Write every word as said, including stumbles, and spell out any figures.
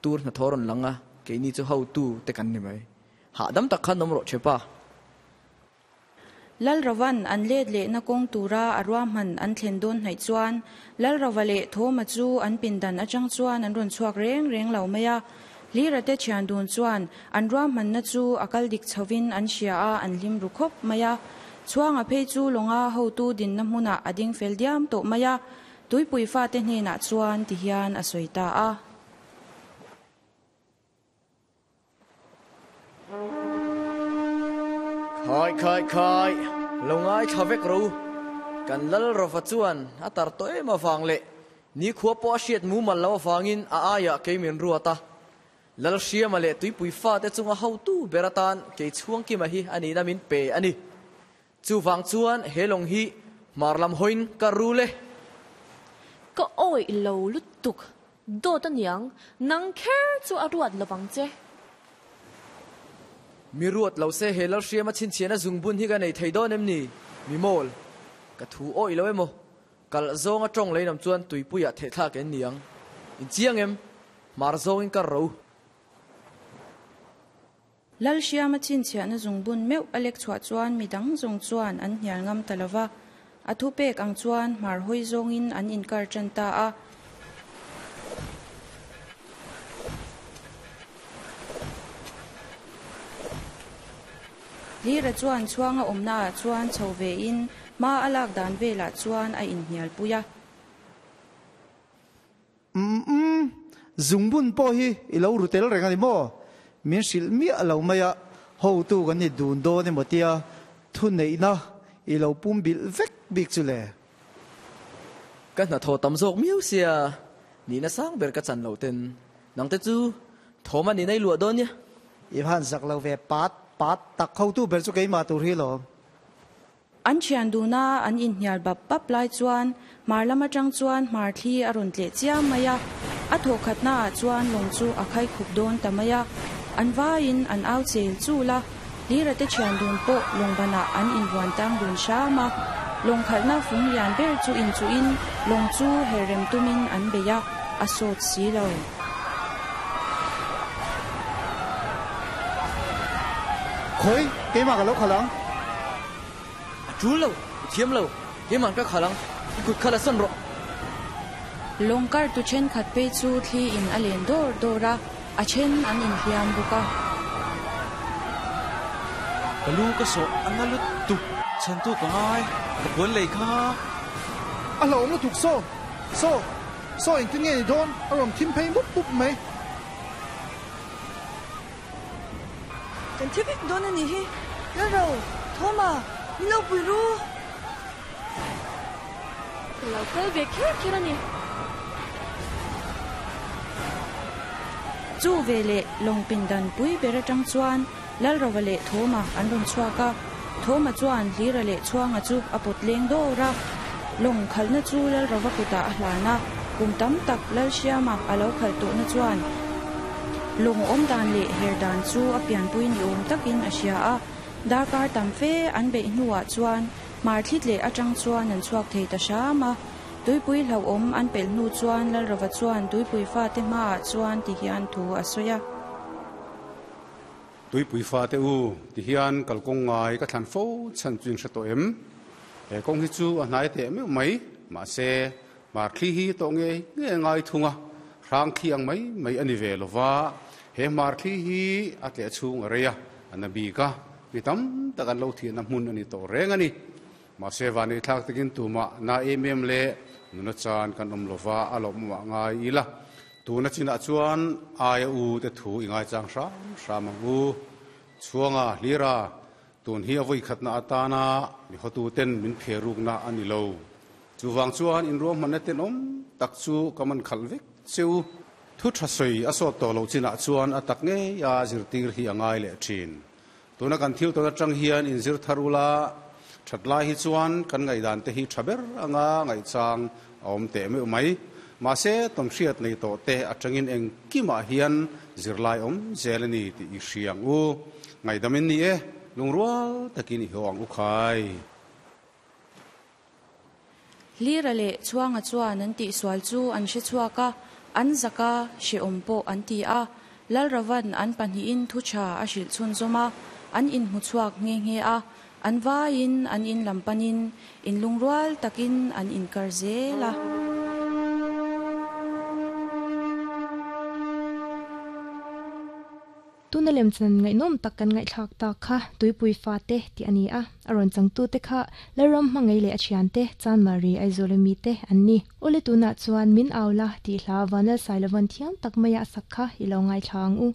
Tur na thoron langa ke ni chu ho tu te kan ni mai. Ha dam tak khan nom ro chepa. Lal rawan an led le na kong tura arwa man an thlen don hnai chuan lal rawale thoma chu an pindan atang chuan an ron chuak reng reng lo maya lira te thian dun chuan an ruam man na chu akal dik chawin an hria a an lim ru khop maya chuanga phei chu longa ho tu din na hmuna ading fel diam to maya tuipui fa te hne na chuan ti hian a soita a. Khai khai khai longai thavek ro kan lal rafa chuan a tar to em awang le ni khua po a hriat mu mal lo awangin a aya keimin ruata lal hriama le tuipui fa te chunga ho tu beratan ke chhuang ki ma hi ani na min pe ani chu wang chuan helong hi marlam hoin ka ru le ka oi lo lutuk do ta niang nang kher chu a ruat lawang che. Mi ruat lo se he lal hriama chin chian a zungbun hi ka nei thei dawn em ni mi mol ka thu oi lo emo kal zonga tong leinam chuan tuipuia the thla ken niang in chiang em mar zongin ka ro. Lal hriama chin chian a zungbun meu alek chua chuan midang zong chuan an hnial ngam talawa a thu pek ang chuan mar hoi zongin an inkar chan ta a. Lira chuan chuanga awmna chuan chho ve in ma alak dan vela chuan a inhnial puia. Um um zungbun po hi ilo rutel reng ani mo min sil mi alo maya ho tu kan ni dun do ni motia thu nei na ilo pum bil vek bik chu le. Kan na tho tam zok miu sia ni na sang ber ka chan lo ten nang te chu thoma ni nei lua don nia I han zak lo ve pat pat tak khau tu ber chu kei ma tur hi lo. An thian duna an in hnial bap bap lai chuan mar lama tang chuan mar thli a rawn tle chiam maya a tho khatna ah chuan lawng chu a khai khup dawn ta maya an vaiin an au chel chu la lira te thian dun pawh lawng banah an invuan tang dun hrama lawng khalhna fung lian ber chu in chu in lawng chu herrem tumin an beia a sawt si lo. Khoi keima ka lo khalang a chu lo thiam lo keima ka khalang i kut khala san ro. Longkar tu chen khat pe chu thli in a len dor dora a chen an in hliam buka. Kalu ka so analut tu chan tu ka ngai ka puan lei kha a lo lu tuk so so so in tin nge ni don a rom thim phei mup mup mai. Kan thivik don ani hi la ro thoma ni lo pui ru. Ka lo kal ve kher kher ani. Chu ve le long pindan pui ber atang chuan lal rawa le thoma an ron chuaka thoma chuan hlira le chuanga chu a pot leng dora long khalna chu lal rawa kuta a hlana kum tam tak lal hriama a lo khal to na chuan long om dan le her dan chu a pian pui ni om takin a hria a darkar tam fe an be hnuah chuan mar thlit le atang chuan an chuak thei ta hrama tuipui hlo om an pel hnu chuan lal rawa chuan tuipui fa te hmaah chuan ti hian thu a sawi a. Tuipui fa te u ti hian kalkawng ngai ka thlan fo chan chuin hre tawh em he kawng hi chu a hnai teh meuh mai mahse mar thli hi tawh nge nge ngai thunga hrang thli ang mai mai ani ve lova he mar thli hi a tleh chhung a rei a an a bik a mi tam tak an lo thian a hmun ani tawh reng ani mahse vani thlak takin tuma na em em le nuna chan kan awm lova a lo mawah ngai ila tuna chinah chuan aia u te thu i ngai chang hram hram ang u chuanga hlira tun hi a vui khatna atana mi hotu ten min pheruk na ani lo chuwang chuan in ruam hmanna ten awm tak chu kaman khal vek cheu thu tha soi a sawt tawh lo chinah chuan a tak ngei a zirtir hi a ngai leh thin tuna kan thil tawna tang hian in zir tharula thatlai hi chuan kan ngai dan te hi thaber anga ngai chang a awm teh meuh mai mahse tom hriat nei tawh te atangin eng kimah hian zirlai awm zel ani ti i hriang u ngai damin ni e lungrual takin i ho ang u khai. Lira le chuanga chuan an tih sual chu an hre chhuak a An zak a, hrehawm pawh an ti a. Lalrova'n an pahnihin thu tha a hrilh chhunzawm a, an inhmu chhuak nghe nghe a. An vaiin an in lam panin inlungrual takin an inkar zel a. Tuna lemchan ngaihnawm tak kan ngaihthlak tak kha tuipui fate tih a ni a, a rawn changtute kha Lalram hmangaih leh a thiante Chanmari Aizawl ami te an ni. Awle tunah chuan min au la tih hla Vanlalsailovan thiam tak maia a sak kha i lo ngaithla ang u.